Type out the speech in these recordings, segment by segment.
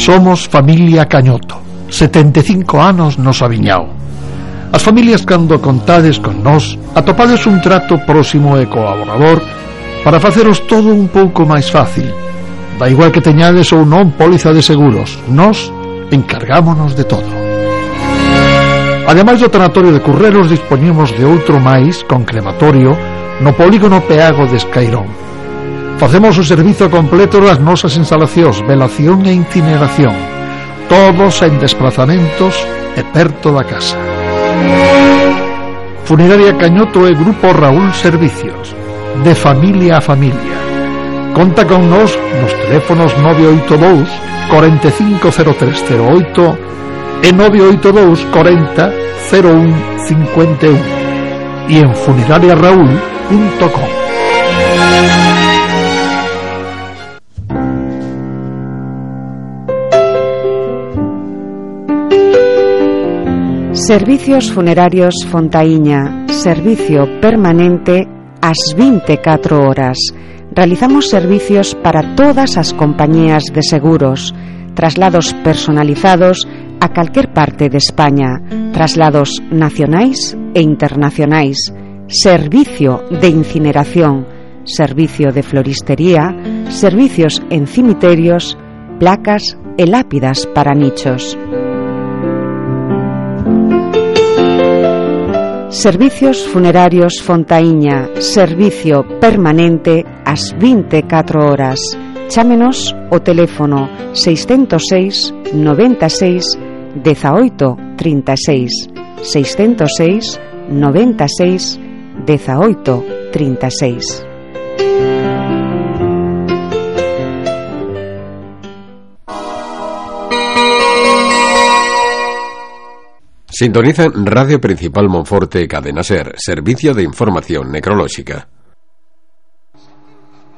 Somos familia Cañoto, 75 anos nos aviñao. As familias cando contades con nós atopades un trato próximo e colaborador para faceros todo un pouco máis fácil. Da igual que teñades ou non póliza de seguros, nós encargámonos de todo. Ademais do tanatorio de Currelos, dispoñemos de outro máis con crematorio no polígono Peago de Escairón. Facemos o servizo completo das nosas instalacións, velación e incineración, todos en desplazamentos e perto da casa. Funeraria Cañoto e Grupo Raúl Servicios, de familia a familia. Conta con nós nos teléfonos 982 450308 e 982 40 01 51 e en funerariaraúl.com. Servicios Funerarios Fontaíña, servicio permanente ás 24 horas. Realizamos servicios para todas as compañías de seguros, traslados personalizados a calquer parte de España, traslados nacionais e internacionais, servicio de incineración, servicio de floristería, servicios en cimiterios, placas e lápidas para nichos. Servicios Funerarios Fontaíña, servicio permanente ás 24 horas. Chámenos o teléfono 606 96 18 36, 606 96 18 36. Sintonizan Radio Principal Monforte e Cadena Ser, servicio de información necrolóxica.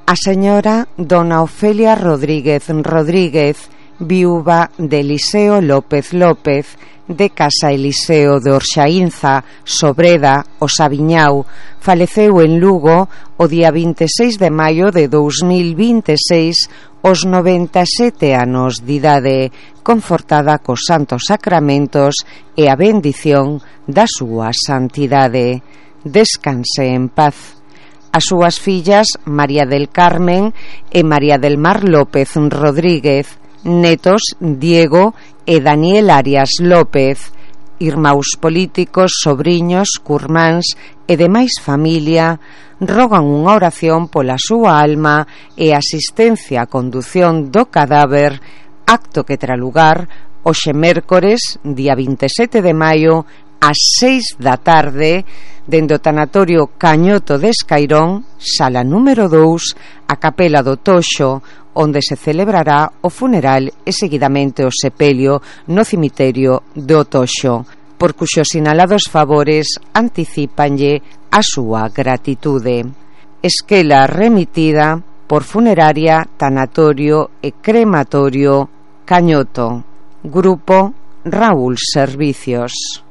A señora Dona Ofelia Rodríguez Rodríguez, viúva de Eliseo López López, de Casa Eliseo de Orxaínza, Sobreda, o Saviñao, faleceu en Lugo o día 26 de maio de 2026 aos 97 anos de idade, confortada cos santos sacramentos e a bendición da súa santidade. Descanse en paz. As súas fillas María del Carmen e María del Mar López Rodríguez, netos Diego e Daniel Arias López, irmáns políticos, sobriños, curmáns e demais familia, rogan unha oración pola súa alma e asistencia a condución do cadáver, acto que terá lugar hoxe mércores, día 27 de maio, ás 6 da tarde, dende o tanatorio Cañoto de Escairón, sala número 2, a capela do Toxo, onde se celebrará o funeral e seguidamente o sepelio no cemiterio do Toxo, por cuxos sinalados favores anticípanlle a súa gratitude. Esquela remitida por Funeraria, Tanatorio e Crematorio Cañoto, Grupo Raúl Servicios.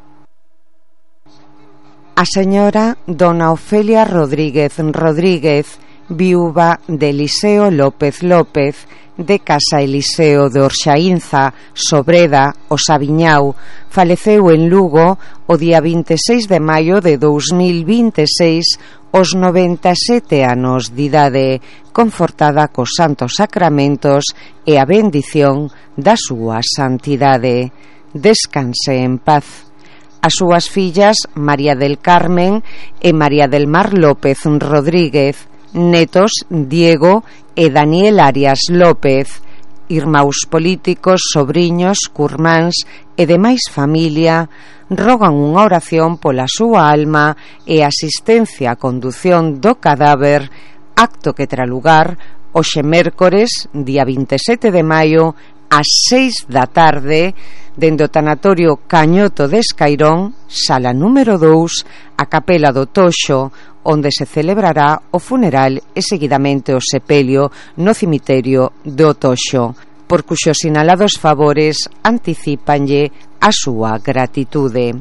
A señora Dona Ofelia Rodríguez Rodríguez, viúva de Eliseo López López, de Casa Eliseo de Orxaínza, Sobreda, o Saviñao, faleceu en Lugo o día 26 de maio de 2026 aos 97 anos de idade, confortada cos santos sacramentos e a bendición da súa santidade. Descanse en paz. As súas fillas María del Carmen e María del Mar López Rodríguez, netos Diego e Daniel Arias López, irmáns políticos, sobriños, curmáns e demais familia, rogan unha oración pola súa alma e asistencia a condución do cadáver, acto que terá lugar hoxe mércores, día 27 de maio, ás 6 da tarde, dende o tanatorio Cañoto de Escairón, sala número 2, a capela do Toxo, onde se celebrará o funeral e seguidamente o sepelio no cemiterio do Toxo, por cuxos sinalados favores anticípanlle a súa gratitude.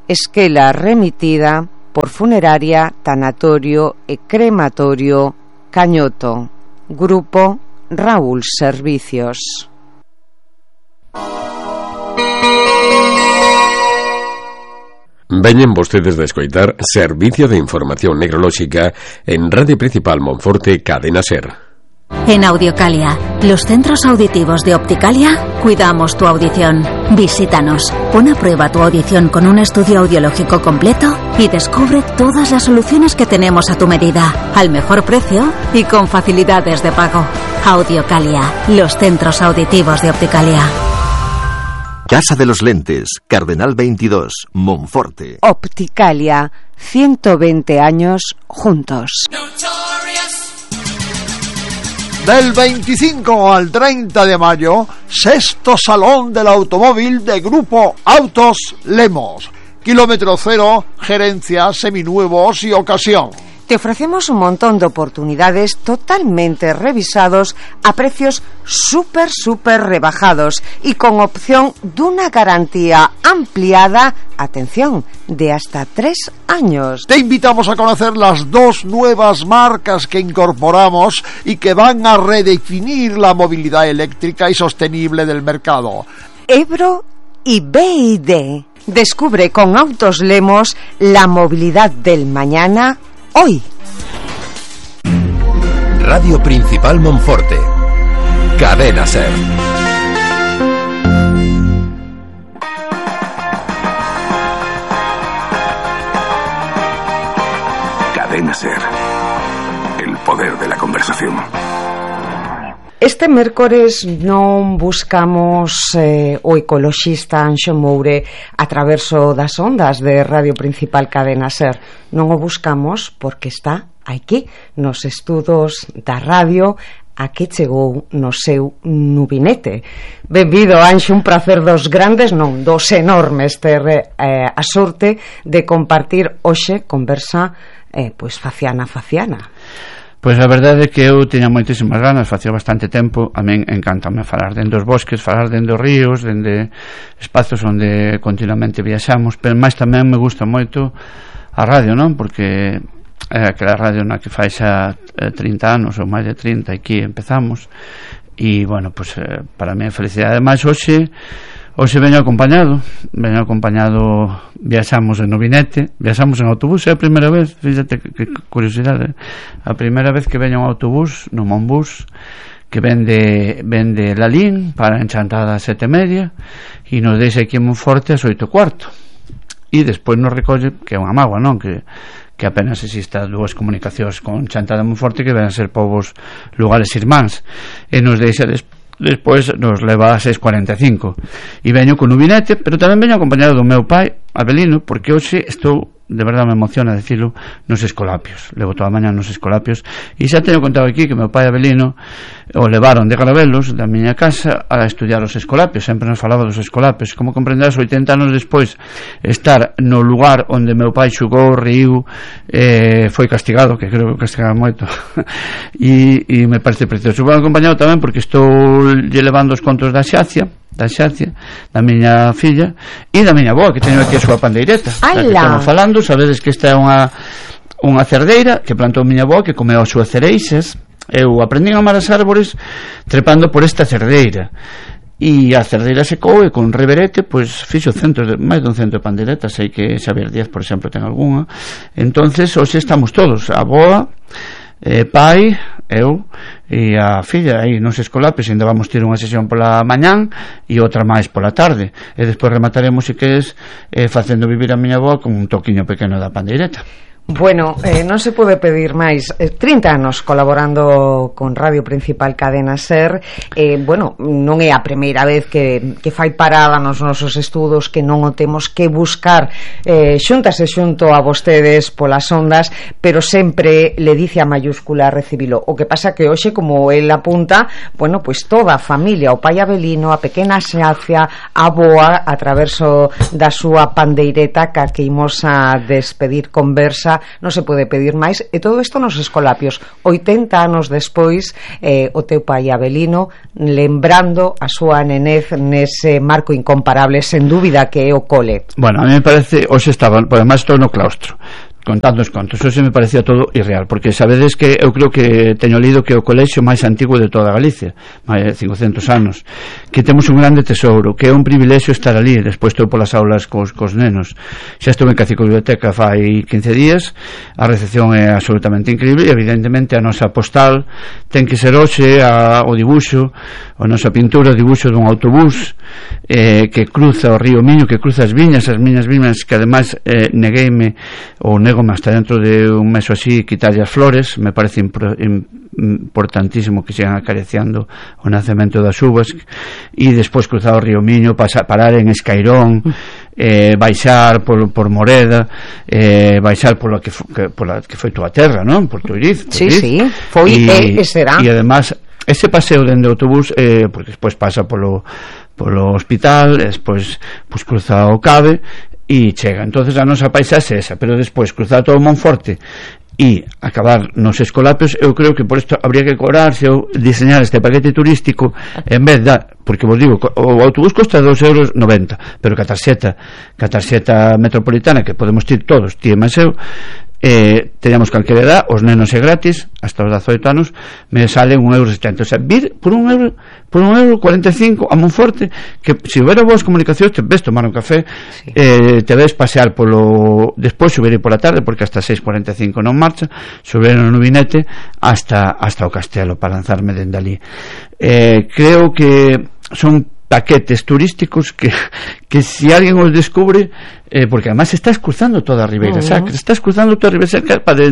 Esquela remitida por Funeraria, Tanatorio e Crematorio Cañoto, Grupo Raúl Servicios. Veñen vostedes de escoitar Servicio de Información Necrolóxica en Radio Principal Monforte, Cadena SER. En Audiocalia, los centros auditivos de Opticalia, cuidamos tu audición. Visítanos, pon a prueba tu audición con un estudio audiológico completo y descubre todas las soluciones que tenemos a tu medida, al mejor precio y con facilidades de pago. Audiocalia, los centros auditivos de Opticalia. Casa de los Lentes, Cardenal 22, Monforte. Opticalia, 120 años juntos. Del 25 al 30 de mayo, sexto Salón del Automóvil de Grupo Autos Lemos. Kilómetro cero, gerencia, seminuevos y ocasión. Te ofrecemos un montón de oportunidades totalmente revisados a precios súper rebajados y con opción de una garantía ampliada, atención, de hasta 3 años. Te invitamos a conocer las 2 nuevas marcas que incorporamos y que van a redefinir la movilidad eléctrica y sostenible del mercado. Ebro y BYD. Descubre con Autos Lemos la movilidad del mañana hoy. Radio Principal Monforte. Cadena SER. Cadena SER. El poder de la conversación. Este mércores non buscamos o ecoloxista Anxo Moure a traverso das ondas de Radio Principal Cadena SER. Non o buscamos porque está aquí nos estudos da radio a que chegou no seu nubinete. Benvido, Anxo, un prazer dos grandes, non, dos enormes ter a sorte de compartir hoxe conversa pois faciana. Pois a verdade é que eu tiña moitísimas ganas, facía bastante tempo, a min encántame falar dende os bosques, falar dende os ríos, dende espazos onde continuamente viaxamos, pero máis tamén me gusta moito a radio, non? Porque é aquela radio na que fai xa 30 anos ou máis de 30, aquí empezamos, e, bueno, pois para mí é felicidade. Ademais, hoxe veño acompañado, viaxamos en nubinete, viaxamos en autobús, é a primeira vez, fíxate que curiosidade, a primeira vez que veño un autobús, no Monbús, que vende Lalín para Enchantada a 7:30 e nos deixa aquí en Monforte ás 8:15 e despois nos recolle, que é unha mágoa, non? Que apenas exista 2 comunicacións con Enchantada e Monforte que ven a ser povos lugares irmáns, e nos deixa despois nos leva a 6:45 e veño con nubinete, pero tamén veño acompañado do meu pai Abelino, porque hoxe estou, de verdade me emociona decirlo, nos Escolapios. Levo toda a mañá nos Escolapios e xa teño contado aquí que meu pai Abelino o levaron de Garabelos, da miña casa, a estudiar os Escolapios. Sempre nos falaba dos Escolapios. Como comprenderás, 80 anos despois, estar no lugar onde meu pai xugou, riu, foi castigado, que creo que castigaba moito e me parece precioso. Vou acompañado tamén porque estou lle levando os contos da Xacia, da miña filla e da miña avoa, que teño aquí a súa pandeireta, da que estamos falando. Sabedes que esta é unha cerdeira que plantou miña avoa, que comeu as súas cereixas. Eu aprendín a amar as árbores trepando por esta cerdeira, e a cerdeira secou e con reverete pois fixo máis dun cento de pandeiretas. Sei que Xavier Díaz, por exemplo, ten algunha. Entonces hoxe estamos todos, a avoa, pai, eu e a filla aí nos Escolapios. Ainda vamos ter unha sesión pola mañán e outra máis pola tarde, e despois remataremos, se queres, facendo vivir a miña avó con un toquiño pequeno da pandeireta. Bueno, non se pode pedir máis. 30 anos colaborando con Radio Principal Cadena SER. Bueno, non é a primeira vez que fai parada nos nosos estudos, que non o temos que buscar xuntas e xunto a vostedes polas ondas, pero sempre le dice a mayúscula recibilo. O que pasa que hoxe, como el apunta, bueno, pois toda a familia, o pai Abelino, a pequena Xacia, a boa, a traverso da súa pandeireta, que imos a despedir conversa. Non se pode pedir máis, e todo isto nos Escolapios 80 anos despois. O teu pai Abelino lembrando a súa nenez nese marco incomparable, sen dúbida, que é o cole. Bueno, a mí me parece, hoxe estaba, además estou no claustro, contando os contos. Eso me parecía todo irreal, porque sabedes que eu creo que teño lido que o colexio máis antigo de toda Galicia, máis de 500 anos, que temos un grande tesouro, que é un privilexio estar ali. Despois estou polas aulas cos nenos, xa estou en Cacico Biblioteca fai 15 días, a recepción é absolutamente increíble, e evidentemente a nosa postal ten que ser hoxe o dibuixo, a nosa pintura, o dibuixo dun autobús que cruza o río Miño, que cruza as miñas viñas, que ademais negueime ou negome hasta dentro de un mes ou así quitarlle as flores. Me parece importantísimo que sigan acariciando o nacemento das uvas, e despois cruzar o río Miño, parar en Escairón, baixar por Moreda, baixar pola que foi túa terra, non? Por Tuiriz. Sí, foi e será. E además ese paseo dende o autobús, porque despois pasa polo hospital, despois pues cruza o Cabe e chega. Entonces a nosa paisaxe é esa, pero despois cruzar todo o Monforte e acabar nos Escolapios. Eu creo que por isto habría que cobrarse ou diseñar este paquete turístico en vez da, porque vos digo, o autobús costa 2,90 €, pero que a tarxeta metropolitana, que podemos ir todos, ti e máis eu, teñamos calquera edad, os nenos é gratis hasta os 18 anos, me salen 1,70 €. O sea, vir por 1,45 € a Monforte, que se houbera boas comunicacións te ves tomar un café, sí. Te ves pasear despois subir pola tarde, porque hasta 6:45 non marcha, subir no Vinete hasta o Castelo para lanzarme dende ali. Creo que son paquetes turísticos que si alguén os descubre, porque además estás cruzando toda a Ribeira Sacra, para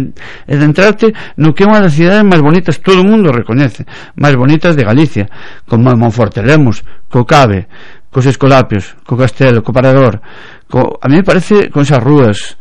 entrarte no que é unha das cidades máis bonitas, todo o mundo recoñece, máis bonitas de Galicia, como Monforte Lemos, co Cabe, cos Escolapios, co Castelo, co Parador, a mí me parece con esas rúas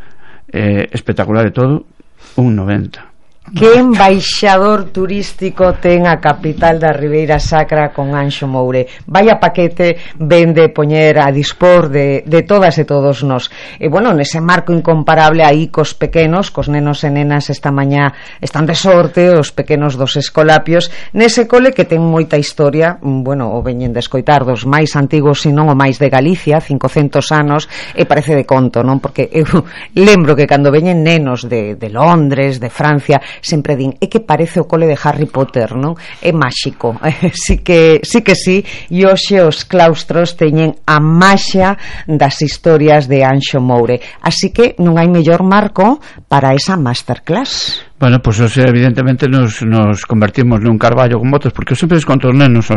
espectacular e todo, 1,90 €. Que embaixador turístico ten a capital da Ribeira Sacra con Anxo Moure. Vaya paquete vende poñer a dispor de todas e todos nós. E bueno, nese marco incomparable aí cos pequenos, cos nenos e nenas esta mañá están de sorte, os pequenos dos Escolapios, nese cole que ten moita historia, bueno, o veñen de escoitar dos máis antigos, senón o máis de Galicia, 500 anos, e parece de conto, non? Porque eu lembro que cando veñen nenos de Londres, de Francia, sempre din, é que parece o cole de Harry Potter, non? É máxico. Sí que sí, e hoxe os claustros teñen a maxia das historias de Anxo Moure. Así que non hai mellor marco para esa masterclass. Bueno, pois pues, evidentemente nos convertimos nun carballo con botas, porque eu sempre conto os nenos,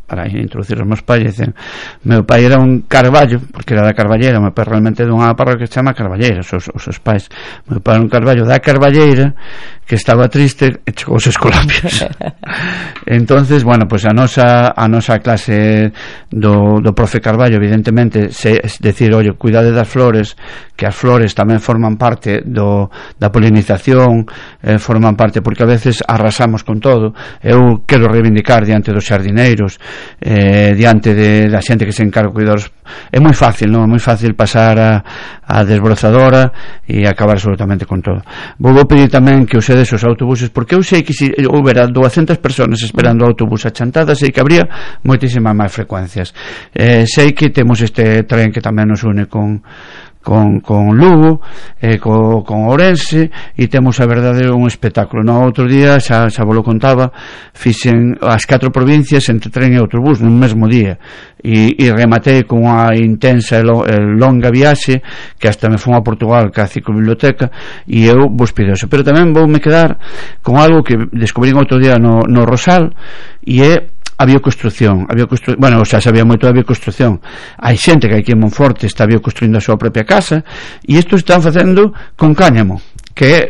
para introducir os meus pais, dicen, meu pai era un carballo, porque era da Carballeira, meu pai realmente dunha parroquia que se chama Carballeira, os seus pais. Meu pai era un carballo da Carballeira, que estaba triste e chegou os Escolapios. Entonces, bueno, pois pues a nosa clase do profe Carballo, evidentemente, es decir, oye, cuidade das flores, que as flores tamén forman parte da polinización, forman parte, porque a veces arrasamos con todo. Eu quero reivindicar diante dos xardineiros, diante da xente que se encarga de cuidar. É moi fácil, non? É moi fácil pasar a desbrozadora e acabar absolutamente con todo. Vou pedir tamén que usedes os autobuses, porque eu sei que se houbera 200 personas esperando o autobús a Chantada, sei que habría moitísimas máis frecuencias. Sei que temos este tren que tamén nos une con Lugo, con Ourense, e temos a verdade un espectáculo. No outro día, xa vos lo contaba, fixen as 4 provincias entre tren e autobús nun mesmo día, e rematei con unha intensa e longa viaxe que hasta me fun a Portugal ca ciclobiblioteca, e eu vos pido eso. Pero tamén voume quedar con algo que descubrín outro día no Rosal, e é a bioconstrucción. Bueno, xa sabía moito da bioconstrucción. Hai xente que aquí en Monforte está bioconstruindo a súa propia casa, e isto están facendo con cáñamo, que é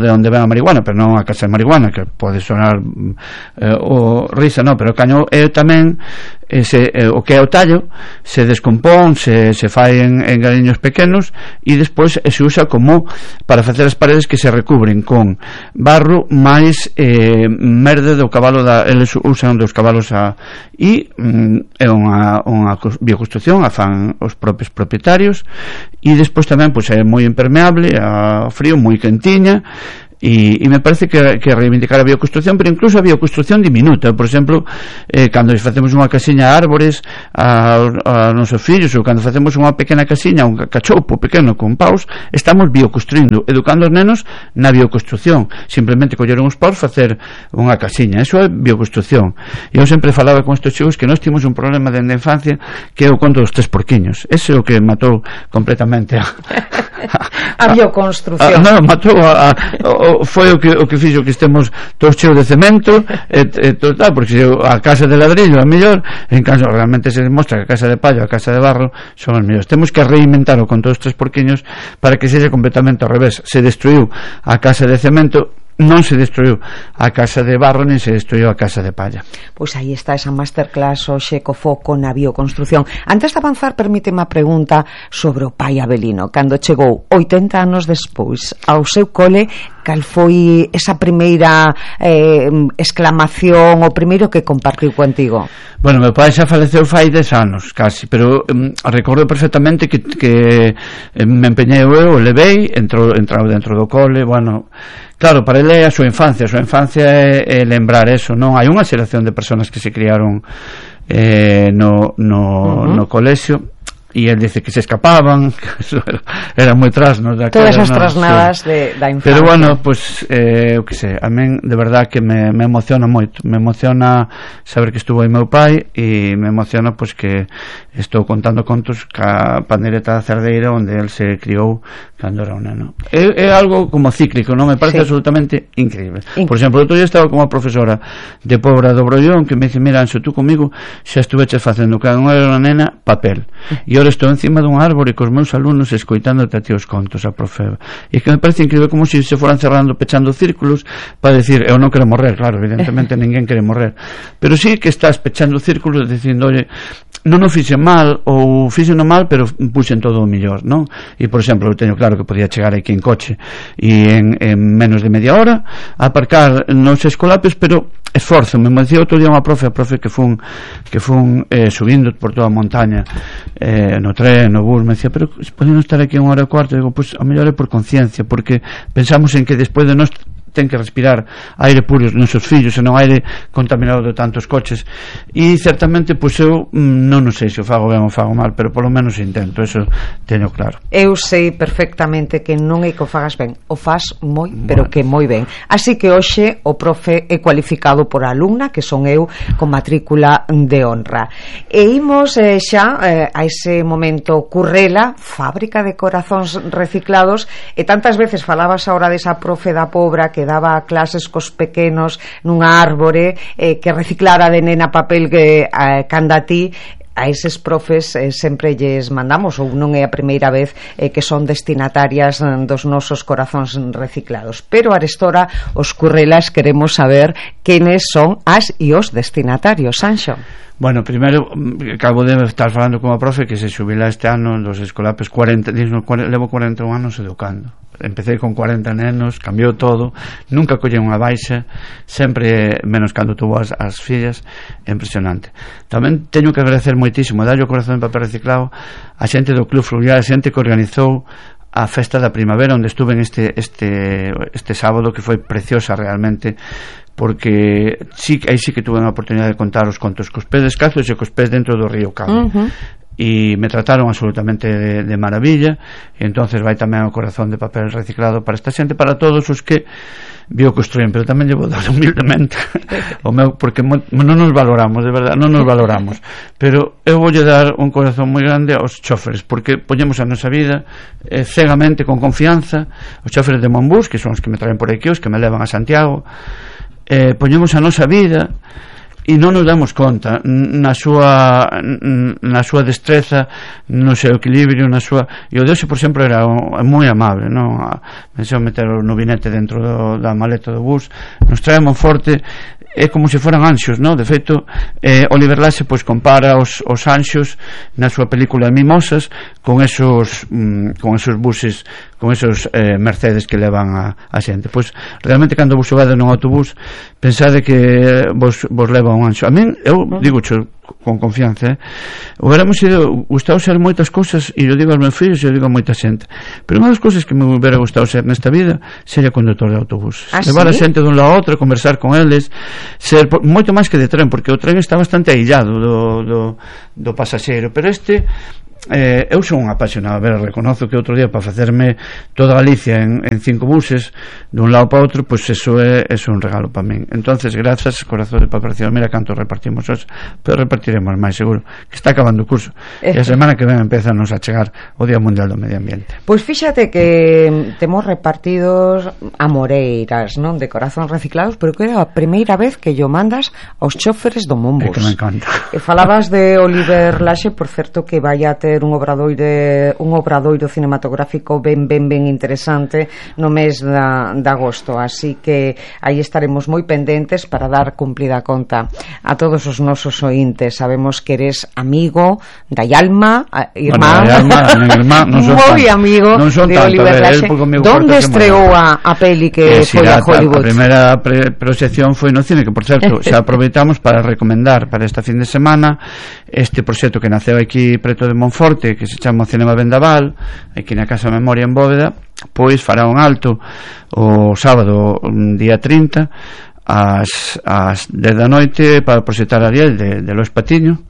de onde ven a marihuana, pero non a casa de marihuana, que pode sonar risa, non, pero o cáñamo é tamén o que é o tallo, se descompón, se fai en galiños pequenos, e despois se usa como para facer as paredes, que se recubren con barro máis merde do cabalo, eles usan dos cabalos e é unha bioconstrucción, a fan os propios propietarios, e despois tamén pois é moi impermeable ao frío, moi quentiña, e me parece que reivindicar a bioconstrucción, pero incluso a bioconstrucción diminuta. Por exemplo, cando facemos unha casiña a árbores a nosos fillos, ou cando facemos unha pequena casiña, un cachoupo pequeno con paus, estamos bioconstruindo, educando os nenos na bioconstrucción. Simplemente colleron uns paus, facer unha casiña, eso é bioconstrucción. E eu sempre falaba con estes chicos que nós timos un problema dende a infancia, que é o conto dos 3 porquiños. Ese é o que matou completamente a bioconstrucción. Non, matou foi o que fixo que estemos todos cheos de cemento e tal, porque a casa de ladrillo é mellor, en caso realmente se demostra que a casa de pallo, a casa de barro son as mellores. Temos que reinventar o conto dos 3 porquiños para que sexa completamente ao revés. Se destruiu a casa de cemento, non se destruiu a casa de barro, nin se destruiu a casa de palla. Pois aí está esa masterclass hoxe co foco na bioconstrucción. Antes de avanzar, permíteme a pregunta sobre o pai Avelino. Cando chegou 80 anos despois ao seu cole, cal foi esa primeira exclamación, o primeiro que compartiu contigo? Bueno, meu pai xa faleceu fai 10 anos, casi, pero recordo perfectamente que me empeñei eu, levei, entrou dentro do cole, bueno, claro, para ele é a súa infancia é lembrar eso, non? Hai unha xeración de persoas que se criaron no colexio, e el dice que se escapaban, que era moi trasnos todas as trasnadas da infancia. Pero bueno, pues eu que sei, a min de verdad que me emociona moito, me emociona saber que estuvo aí meu pai, e me emociona pues que estou contando contos ca pandereta da Cerdeira onde el se criou cando era un neno. É algo como cíclico, non? Me parece absolutamente increíble. Por exemplo, outro día estaba con unha profesora de Pobra do Brollón que me dice, mira, Anxo, tú comigo xa estuveches facendo cando era unha nena papel, e ahora estou encima dun árbore cos meus alumnos escoitándote a ti os contos, a profe. E que me parece increíble, como se foran cerrando, pechando círculos para decir, eu non quero morrer, claro, evidentemente ninguén quere morrer, pero sí que estás pechando círculos dicindo, oye, non o fixen mal, ou fixen mal, pero puxen todo o millor, non? E, por exemplo, eu teño claro que podía chegar aquí en coche e en menos de media hora aparcar nos escolapes, pero esforzo, me decía outro día unha profe que fun subindo por toda a montaña no tren, no bus, me decía, pero podemos estar aquí unha hora e cuarto. Digo, pues a mellor é por conciencia, porque pensamos en que despois de nós ten que respirar aire puro os nosos fillos e non aire contaminado de tantos coches, e certamente pois eu non sei se o fago ben ou fago mal, pero polo menos intento, eso teño claro. Eu sei perfectamente que non é que o fagas ben, o faz moi, pero que moi ben. Así que hoxe o profe é cualificado por alumna, que son eu, con matrícula de honra. E imos xa a ese momento Currela, fábrica de corazóns reciclados, e tantas veces falabas ahora desa profe da Pobra que daba clases cos pequenos nunha árbore, que reciclara de nena papel que canda a ti. A eses profes sempre lles mandamos, ou non é a primeira vez que son destinatarias dos nosos corazóns reciclados, pero arestora os Currelas queremos saber quenes son as e os destinatarios. Anxo. Bueno, primeiro, acabo de estar falando con a profe que se xubila este ano dos escolapes, levo 41 anos educando. Empecé con 40 nenos, cambiou todo, nunca collei unha baixa, sempre menos cando tuvo as fillas, impresionante. Tamén teño que agradecer moitísimo, darlle o corazón de papel reciclado a xente do Club Fluvial, a xente que organizou a festa da primavera, onde estuve en este sábado, que foi preciosa realmente, porque aí sí que tuve a oportunidade de contar os contos cos pés descalzos e cos pés dentro do río Cabo. E me trataron absolutamente de maravilla, e entonces vai tamén o corazón de papel reciclado para esta xente, para todos os que bioconstruen, pero tamén llevo dar humildemente o meu, porque non nos valoramos, de verdade, non nos valoramos, pero eu voulle dar un corazón moi grande aos choferes, porque poñemos a nosa vida cegamente, con confianza. Os choferes de Monbús, que son os que me traen por aquí, os que me levan a Santiago, poñemos a nosa vida e non nos damos conta na súa destreza, no seu equilibrio, na súa... E o Deus, por exemplo, era moi amable, non? Me deixou meter no vinete dentro da maleta do bus, nos trae Monforte, é como se foran anxos, non? De feito, Oliver Laxe pois compara os anxos na súa película Mimosas con esos buses, con esos Mercedes que levan a xente. Pois realmente cando vos subade nun autobús, pensade que vos leva un anxo. A min, eu digo, con confianza, hubiéramos ido gustado ser moitas cousas, e eu digo aos meus fillos e eu digo a moita xente, pero unha das cousas que me hubiera gustado ser nesta vida sería conductor de autobús, levar a xente dun lado a outro, conversar con eles, ser moito máis que de tren, porque o tren está bastante aillado do pasaxeiro, pero eu son un apasionado, reconozo que outro día para facerme toda Galicia en 5 buses dun lado para outro, pois eso é un regalo para min. Entonces, grazas, corazón de preparación, mira canto repartimos hoxe, pero repartiremos máis seguro, que está acabando o curso e a semana que ven empezanos a chegar o Día Mundial do Medio Ambiente. Pois fíxate que temos repartidos amoreiras, non, de corazón reciclados, pero que era a primeira vez que yo mandas aos choferes do Monbus. É que me encanta. E falabas de Oliver Laxe, por certo, que vai a ter un obradoiro cinematográfico ben interesante no mes de agosto, así que aí estaremos moi pendentes para dar cumplida conta a todos os nosos ointes. Sabemos que eres amigo da Yalma, irmán, moi amigo de Oliver Laxe. Donde estreou a peli que foi a Hollywood? A primeira proxección foi no cine, que por certo xa aproveitamos para recomendar para esta fin de semana este proxecto que naceu aquí preto de Monforte, que se chama Cinema Vendaval, aquí na Casa Memoria en Bóveda, pois fará un alto o sábado día 30 ás 10 da noite para proxectar Ariel de Lois Patiño,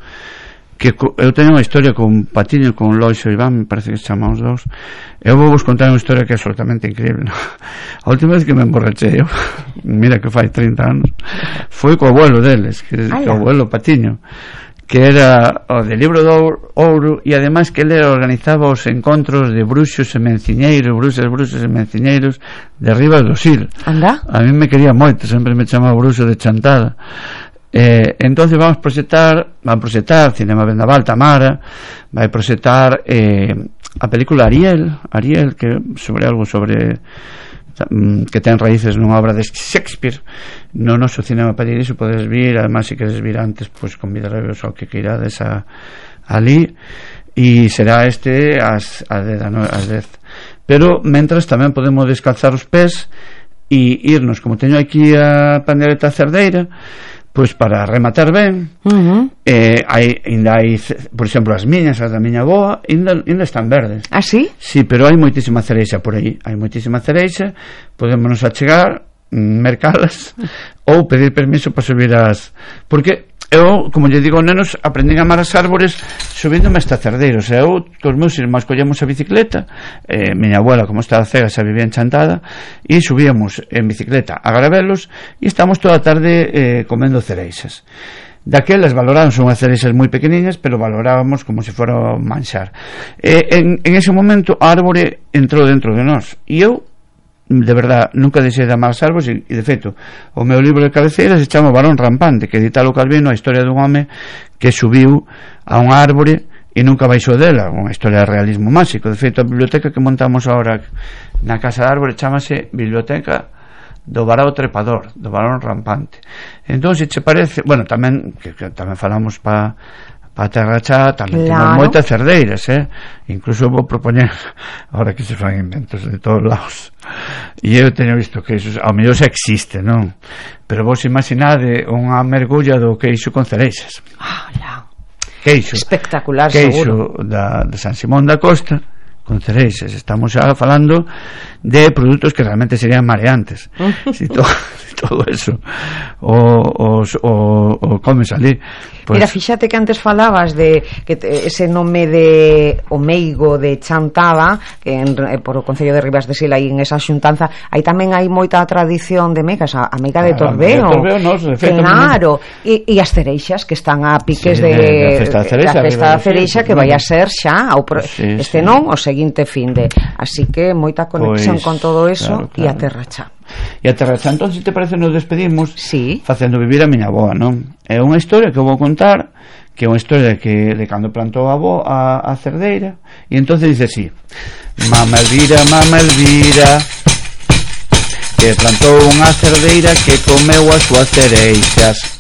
que eu teño unha historia con Patiño, con Lois e Iván, me parece que se chama os dous. Eu vou vos contar unha historia que é absolutamente increíble, ¿no? A última vez que me emborrachei eu, mira que fai 30 anos, foi co abuelo deles, que o abuelo Patiño, que era o de Libro de Ouro, e ademais que ele organizaba os encontros de bruxos e menciñeiros, bruxas e menciñeiros de Ribas do Sil. Anda? A mí me quería moito, sempre me chamaba bruxo de chantada. Entonces van proxectar Cinema Vendaval, Tamara vai proxectar a película Ariel, que sobre algo que ten raíces nunha obra de Shakespeare no noso cinema paradiso. Podes vir, además se queres vir antes, pois convidarevos ao que queirades ali, e será ás 10. Pero mentras tamén podemos descalzar os pés e irnos, como teño aquí a pandereta cerdeira, pois para rematar ben. Ainda hai, por exemplo, as miñas, as da miña boa, ainda están verdes. Ah, sí? Sí, pero hai moitísima cereixa por aí, podémonos achegar, mercalas ou pedir permiso para subir porque eu, como lle digo aos nenos, aprendín a amar as árbores subíndome esta cerdeira. O sea, eu cos meus irmãos collemos a bicicleta, miña abuela, como estaba cega, xa vivía en Chantada, e subíamos en bicicleta a Garabelos e estamos toda a tarde comendo cereixas. Daquelas valorábamos unhas cereixas moi pequeniñas, pero valorábamos como se fora manxar. En ese momento a árbore entrou dentro de nós, e eu de verdad nunca deixei de amar as árbores, e de feito o meu libro de cabeceira se chama Barón Rampante, que editalo Calvino, a historia dun home que subiu a unha árbore e nunca baixou dela, unha historia de realismo máxico. De feito, a biblioteca que montamos agora na Casa de Árbore chamase Biblioteca do Varao Trepador, do Barón Rampante. Entón, se che parece, bueno, tamén que tamén falamos para Terrachá, tamén temos moitas cerdeiras, incluso vou propoñer ahora que se fan inventos de todos lados, e eu teño visto que iso ao mellor xa existe, non? Pero vos imaginade unha mergulla do queixo con cereixas. Queixo espectacular, queixo de San Simón da Costa con cereixas. Estamos xa falando de produtos que realmente serían mareantes. Si todo eso o comes ali, pues... Mira, fíxate que antes falabas de que ese nome de o meigo de Chantada, que por o Concello de Ribas de Sil, aí en esa xuntanza, aí tamén hai moita tradición de megas, a meiga de Torbeo, claro, e as cereixas que están a piques de festa da cereixa, que vai a ser xa este non, o seguinte finde, así que moita conexión con todo eso, e a Terrachá. E a Terrachá, entón, se te parece, nos despedimos facendo vivir a miña avoa, non? É unha historia que vou contar, que é unha historia de cando plantou a avoa a cerdeira, e entón dice así: Mama Elvira, que plantou unha cerdeira que comeu as súas cereixas.